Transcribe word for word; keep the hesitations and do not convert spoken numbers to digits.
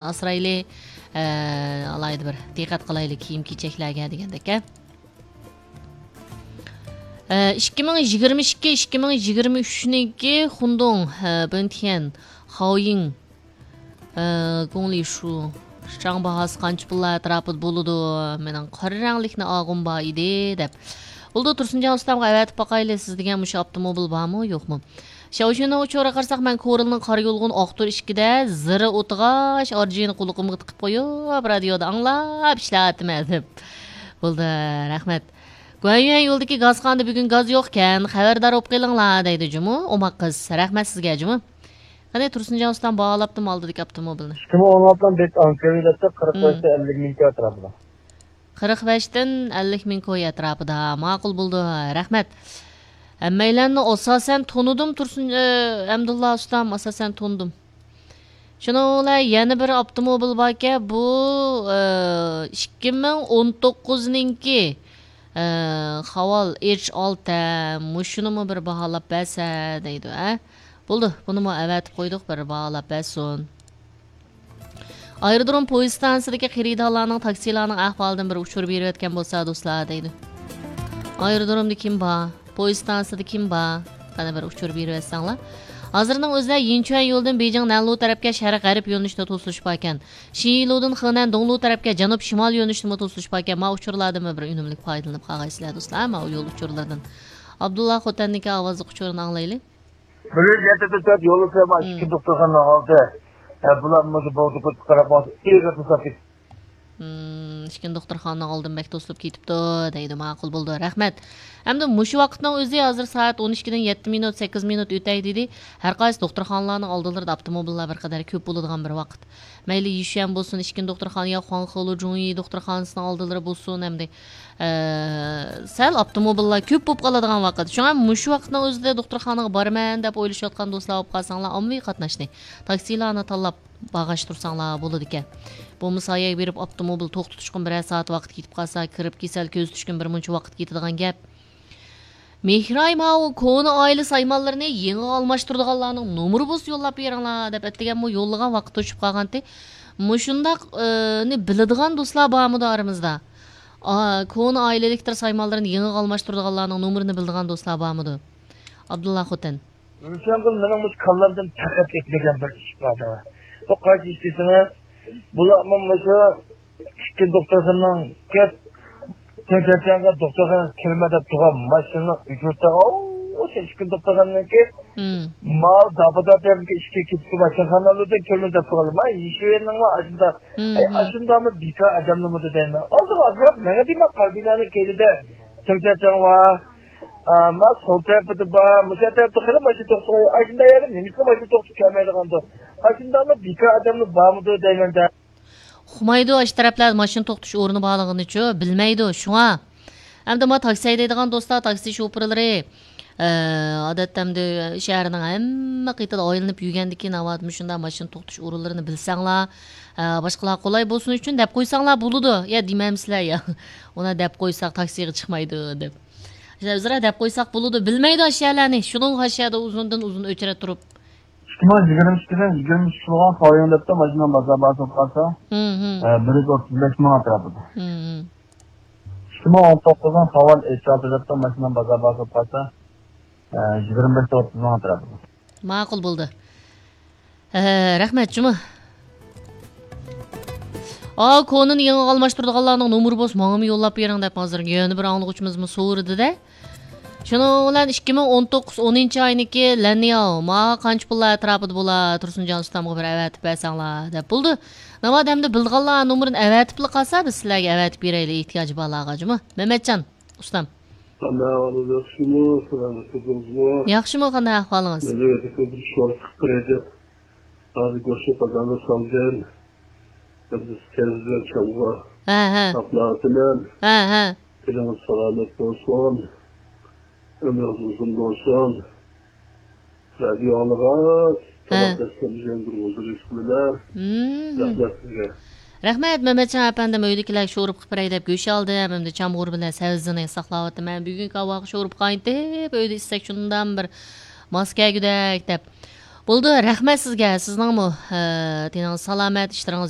ئاسرايلى، ئە، ئالاھىدە بىر دىققەت قىلايلى كىيىم-كېچەكلەرگە دېگەندەك، ئە. ئە، ئىككى مىڭ يىگىرمە ئىككى، ئىككى مىڭ يىگىرمە ئۈچنىڭكى خۇندۇڭ، ئە، بېنتيەن، خاۋيىڭ، ئە، گوڭلىشۇ، شاڭ باھاسى قانچە پۇللار ئەتراپىدا بولىدۇ؟ مېنىڭ قارا رەڭلىكنى ئالغۇم بار ئىدى، دەپ. بولدى، تۇرسۇنجان ئۇستامغا ئەۋەتىپ باقايلى، سىز دېگەن مۇشۇ ئاپتوموبىل بارمۇ، يوقمۇ؟ شياۋشۈننىڭ ئۇچۇرىغا قارىساق، مەن كورلىنىڭ قارا يولىغىنى ئاقتۇر ئىككىدە زىرى ئوتىغاچ ئارجىنى قۇلىقىمغا تىقىپ قويۇپ، رادىيودا ئاڭلاپ ئىشلەۋاتىمەن، دەپ. بولدى، رەھمەت. گۇەنيۈەن يولىدىكى گازخانىدا بۈگۈن گاز يوقكەن، خەۋەردار بولۇپ قېلىڭلار، دەيدۇ جۇمۇ ئوماق قىز. رەھمەت سىزگە جۇمۇ. قېنى، تۇرسۇنجان ئۇستام باھالاپتىمۇ ئالدىدىكى ئاپتوموبىلنى؟ ئىككى مىڭ ئون ئالتىنىڭ بەك ئانكىۋى دەپتۇ، قىرىق بەشتىن ئەللىك مىڭ ئەتراپىدا. قىرىق بەشتىن ئەللىك مىڭ كوي ئەتراپىدا. ماقۇل بولدى، رەھمەت. ھەممەيلەننى ئاساسەن تونۇدۇم، تۇرسۇن، ئە، ئەمدۇللا ئۇستام، ئاساسەن تونۇدۇم. شۇنىڭ بىلەن يەنە بىر ئاپتوموبىل باركەن، بۇ، ئە، ئىككى مىڭ ئون توققۇزنىڭكى، ئە، خاۋال ئېچ ئالتە، مۇشۇنىمۇ بىر باھالاپ بەرسە دەيدۇ، ھە؟ بولدى، بۇنىمۇ ئەۋەتىپ قويدۇق، بىر باھالاپ بەرسۇن. ئايرودروم پويىز ئىستانسىسىدىكى خېرىدارلارنىڭ تاكسىلارنىڭ ئەھۋالىدىن بىر ئۇچۇر بېرىۋەتكەن بولسا، دوستلار، دەيدۇ. ئايرودرومدا كىم بار؟ پويىز ئىستانسىسىدا كىم بار؟ قېنى بىر ئۇچۇر بېرىۋەتسەڭلار. ھازىرنىڭ ئۆزىدە يىنچۈەن يولىدىن بېيجىڭ نەنلۇ تەرەپكە شەرق غەرب يۆنىلىشتە توسۇلۇش باركەن. شىنلۇدىن خېنەن دوڭلۇ تەرەپكە جەنۇب شىمال يۆنىلىشتىمۇ توسۇلۇش باركەن. ما ئۇچۇرلاردىنمۇ بىر ئۈنۈملۈك پايدىلىنىپ قالغايسىلەر، دوستلار، ما يول ئۇچۇرلىرىدىن. ئابدۇللا خوتەننىڭكى ئاۋازلىق ئۇچۇرىنى ئاڭلايلى. بىر يۈز يەتتە تۆت يولى سەما ئىككى دوختۇرخانىنىڭ ئالدى. ھە، بۇلار مۇشۇ بولدى، كۆپ قاراپ ماڭسا، ئېغىر توساتتى. ئىككى دوختۇرخانىنىڭ ئالدىن بەك توسۇلۇپ كېتىپتۇ، دەيدۇ. ماقۇل بولدى، رەھمەت. ئەمدى مۇشۇ ۋاقىتنىڭ ئۆزى ھازىر سائەت ئون ئىككىدىن يەتتە مىنۇت، سەككىز مىنۇت ئۆتەي دېدى. ھەر قايسى دوختۇرخانىلارنىڭ ئالدىلىرىدا ئاپتوموبىللار بىر قەدەر كۆپ بولىدىغان بىر ۋاقىت. مەيلى يىشۈەن بولسۇن، ئىككىنچى دوختۇرخانا يا خۇاڭخېلۇ جۇڭيى دوختۇرخانىسىنىڭ ئالدىلىرى بولسۇن، ئەمدى، ئە، سەل ئاپتوموبىللار كۆپ بولۇپ قالىدىغان ۋاقىت. شۇڭا مۇشۇ ۋاقىتنىڭ ئۆزىدە دوختۇرخانىغا بارىمەن دەپ ئويلىشىۋاتقان دوستلار بولۇپ قالساڭلار، ئاممىۋى قاتناشنى، تاكسىلارنى تاللاپ بارغاچ تۇرساڭلار بولىدىكەن. بولمىسا ئاياغ بېرىپ ئاپتوموبىل توختىتىشقىمۇ بىرەر سائەت ۋاقىت كېتىپ قالسا، كىرىپ كېسەل كۆزىتىشكىمۇ بىر مۇنچە ۋاقىت كېتىدىغان گەپ. مېھراي ماۋۇ كونا ئائىلە سايمانلىرىنى يېڭىغا ئالماشتۇرىدىغانلارنىڭ نومۇرى بولسا يوللاپ بېرىڭلار دەپ ئەتىگەنمۇ يوللىغان ۋاقىت توشۇپ قالغانتى. مۇشۇنداق، ئى، نى بىلىدىغان دوستلار بارمىدۇ ئارىمىزدا؟ ئا، كونا ئائىلىلىكتۇر سايمانلىرىنى يېڭىغا ئالماشتۇرىدىغانلارنىڭ نومۇرىنى بىلىدىغان دوستلار بارمىدۇ؟ ئابدۇللا خوتەن. روشەنگۈل، مېنىڭ مۇشۇ كاللامدىن پەقەت ئۆتمىگەن بىر ئىش بار. بۇ قايسى ئىش دېسىڭىز، بۇلارمۇ مۇشۇ ئىككى دوختۇرخانىنىڭ كەپ، تەڭكەرچانغا دوختۇرخانىغا كىرمە دەپ تۇرغان ماشىنىنىڭ ئۇجرىتىغا، ئوۋ، شۇ ئىككى دوختۇرخانىنىڭكى مم. مال داپا-داپىدىكى ئىچكى كېتىشكە ماشىنىخانىلىرىدىن كىرمە دەپ تۇرغان. ما يىشىۋېرىنىڭلار ئاشۇنداق. مم، ئەي، مم. ئاشۇنداقمۇ بىكار ئادەملىرىمىدۇ دەيمەن. ئالدىغا ئازراق ماڭا دېمە، قاربىنانىڭ كەينىدە تەڭكەرچاڭ بار. ئا، ما سول تەرىپىدە بار، مۇشۇ تەرەپتە خېلى ماشىنا توختىغان. ئاشۇنداق يەردە نېمىشقا ماشىنا توختىتىپ كەلمەيدىغاندۇ؟ ئاشۇنداقمۇ بىكار ئادەملەر بارمىدۇ دەيمەن-دە. ئۇقمايدۇ، ئاشۇ تەرەپلەردە ماشىنا توختىتىش ئورنى بارلىقىنىچۇ، بىلمەيدۇ، شۇڭا. ئەمدى ما تاكسى ھەيدەيدىغان دوستلار، تاكسى شوپۇرلىرى، ئە، ئادەتتە ئەمدى شەھەرنىڭ ھەممە قېتىدا ئايلىنىپ يۈرگەندىكىن، ناۋادا مۇشۇنداق ماشىنا توختىتىش ئورۇنلىرىنى بىلسەڭلار، ئە، باشقىلارغا قولاي بولسۇن ئۈچۈن دەپ قويساڭلار بولىدۇ. يا دېمەمسىلەر يا. ئۇنى دەپ قويساق تاكسىغا چىقمايدۇ دەپ. ئۆزئارا دەپ قويساق بولىدۇ. بىلمەيدۇ ئاشۇ يەرلەرنى. شۇنىڭغا ئاشۇ يەردە ئۇزۇندىن ئۇزۇن ئۆچرەت تۇرۇپ. ئىككى مىڭ يىگىرمە ئىككىدىن يىگىرمە ئۈچ بولغان خاۋيىڭ دەپتۇ، ماشىنا بازار باھاسى بولۇپ قالسا، مم، مم. ئە، بىر يۈز ئوتتۇز بەش مىڭ ئەتراپىدا. مم، مم. ئىككى مىڭ ئون توققۇزنىڭ خاۋال ئېچ ئالتە دەپتۇ، ماشىنا بازار باھاسى بولۇپ قالسا، ئە، يىگىرمە بەش ئوتتۇز مىڭ ئەتراپىدا. ماقۇل بولدى. ئە، رەھمەت جۇمۇ. ئا، كونىنى يېڭىغا ئالماشتۇرىدىغانلارنىڭ نومۇرى بولسا ماڭىمۇ يوللاپ بېرىڭ دەپ ھازىر يەنە بىر ئاڭلىغۇچىمىزمۇ سورىدى-دە. شۇنىڭ بىلەن ئىككى مىڭ ئون توققۇز ئونىنچى ئاينىڭكى لەنياۋ، ماڭا قانچە پۇللار ئەتراپىدا بولا، تۇرسۇنجان ئۇستامغا بىر ئەۋەتىپ بەرسەڭلار دەپ. بولدى. ناۋادا ئەمدى بىلىدىغانلار نومۇرىنى ئەۋەتىپلا قالسا، بىز سىلەرگە ئەۋەتىپ بېرەيلى، ئېھتىياجى بارلارغا جۇمۇ. مەمەتجان ئۇستام. قانداق ئەھۋالىڭىز، ياخشىمۇ؟ سالامەت تۇردىڭىزمۇ؟ ياخشىمۇ، قانداق ئەھۋالىڭىز؟ مەن بىر ئىش ۋاقىت قىلىپ بېرەي دەپ، ھازىر گۆشنى قازانغا سالدىم. ئەمدى سىز بىلەن چامغا ھە، ھە. ساقلاۋاتىمەن. ھە، ھە. تېنىڭىز سالامەت بولسۇن. ئۆمرىڭىز ئۇزۇن بولسۇن. رادىيو ئاڭلىغاچ، ھە. تاماق دەسسەم يەڭگۈر بولدى، رىزقىلىمە. مم. رەھمەت سىزگە. رەھمەت، مەمەتجان ئەپەندىم، ئۆيدىكىلەر شورپا قىلىپ بېرەي دەپ گۆش ئالدىم، ئەمدى چامغۇر بىلەن سەۋزىنى ساقلاۋاتىمەن. بۈگۈنكى ھاۋاغا شورپا قاينىتىپ، ئۆيدە ئىچسەك شۇندام بىر ماس كەلگۈدەك دەپ. بولدى، رەھمەت سىزگە. سىزنىڭمۇ، ئە، تېنىڭىز سالامەت، ئىشلىرىڭىز